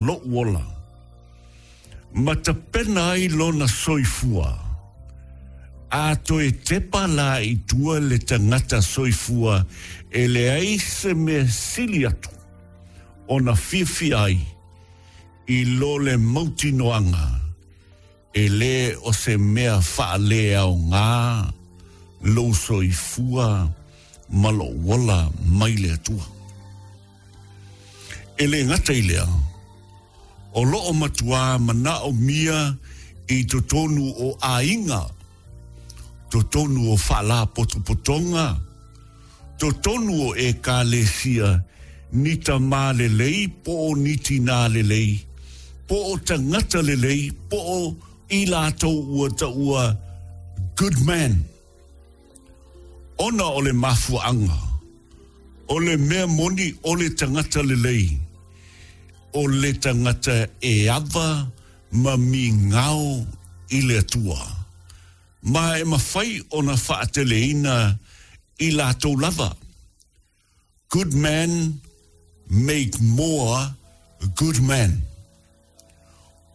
Loʻu ola, ma tapena ai lona soifua, a toe tepa la i tua le tagata soifua e leai se mea sili atu ona fiafia ai i lo le mautinoaga e lē o se mea faaleaoga lou soifua ma loʻu ola mai le Atua. E lē gata i lea, o loʻo matuā manaʻomia i totonu o ʻāiga, totonu o faalapotopotoga, totonu o ʻEkalesia ni tamā lelei po o ni tinā lelei, po o tagata lelei, po o i lātou ua taʻua good man. Ona o le mafuaaga, o le mea moni o le tagata lelei, o le tagata e ava ma migao i le Atua, ma e mafai ona faateleina i latou lava. Good men make more good men.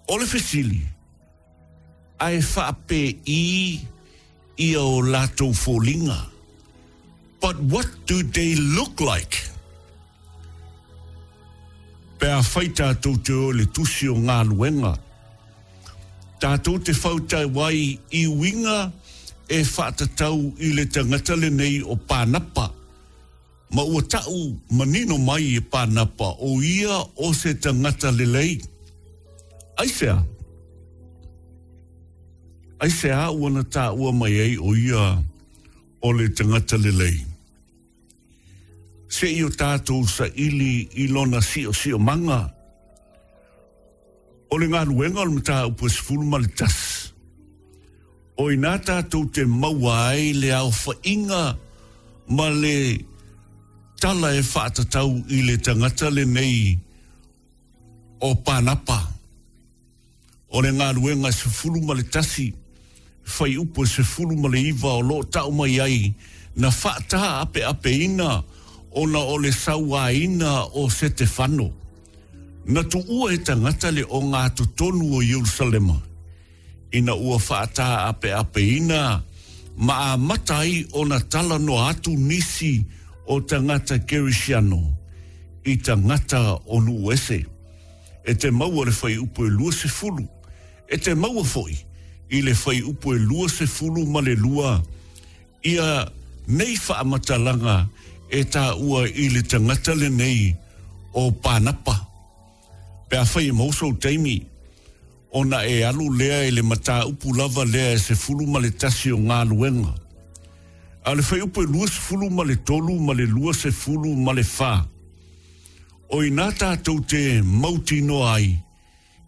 O le fesili, a e faapēʻī ia o latou foliga? But what do they look like? Pe afai tatou te o i le tusi o galuega, tatou te fautau ai i uiga e faatatau i le tagata lenei o Pānapa, Ma ua taʻu manino mai e Pānapa ʻo ia o se tagata lelei. Aisea? Aisea ua na taua mai ai ʻo ia o le tagata lelei? Seʻi o tātou saʻili i lona siʻosiʻomaga. O le galuega o le mataupu e 11, o inā tātou te maua ai le aofaʻiga ma le tala e faatatau i le tagata lenei o Pānapa. O le galuega e 11, fuaiupu e 19 o lo o taʻu mai ai na faataapeapeina ona o le sauaina o Setefano. Na tuua e tagata le ogatotonu o Ierusalema, ina ua faataapeapeina ma amata ai ona talanoa atu nisi o tagata Kerisiano i tagata o nuu ese. E te maua le fuaiupu e 20, e te maua foi i le fuaiupu e 22 ia nei faamatalaga e taua i le tagata lenei o Pānapa. Pe afai e maua sou taimi, ona e alu lea i le mataupu lava lea e 11 o galuega. A o le fuaiupu e 23 ma le 24, o inā tātou te mautinoa ai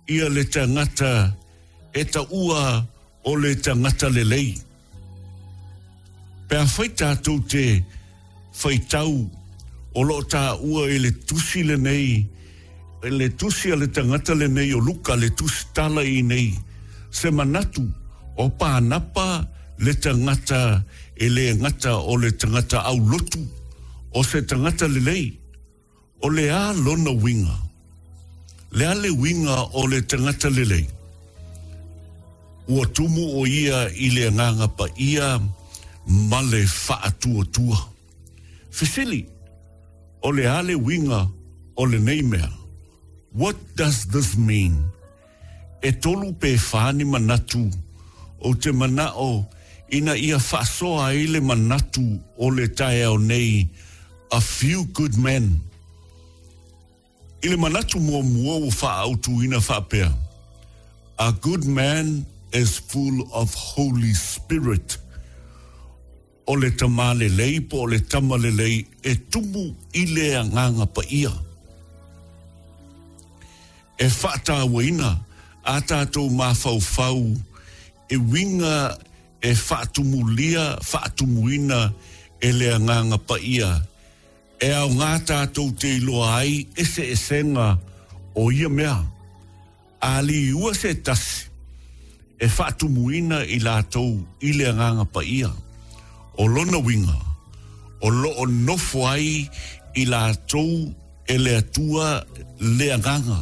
ia le tagata e taua o le tagata lelei. Pe afai tātou te faitau o lo o taua i le tusi lenei, le tusi a le tagata lenei o Luka, le tusi tala i nei, se manatu o Pānapa le tagata e lē gata o le tagata aulotu, o se tagata lelei. O le a lona uiga? Le a le uiga o le tagata lelei? Ua tumu ʻo ia i le Agaga Paia ma le faatuatua. Fesili, O le a le uiga o lenei mea? What does this mean? E tolu pe fa ni manatu ou te manaʻo ina ia faasoa ai le manatu o le taeao nei A Few Good Men. I le manatu muamua ua faaautuina faapea, A good man is full of Holy Spirit. O le tamā lelei po o le tama lelei e tumu i le Agaga Paia. E faataauaina a tātou mafaufau e uiga e faatumulia, faatumuina e le Agaga Paia e aoga tātou te iloa ai eseesega o ia mea. A liua se tasi e faatumuina i latou i le Agaga Paia, o lona uiga, o lo o nofo ai i latou e le Atua le Agaga.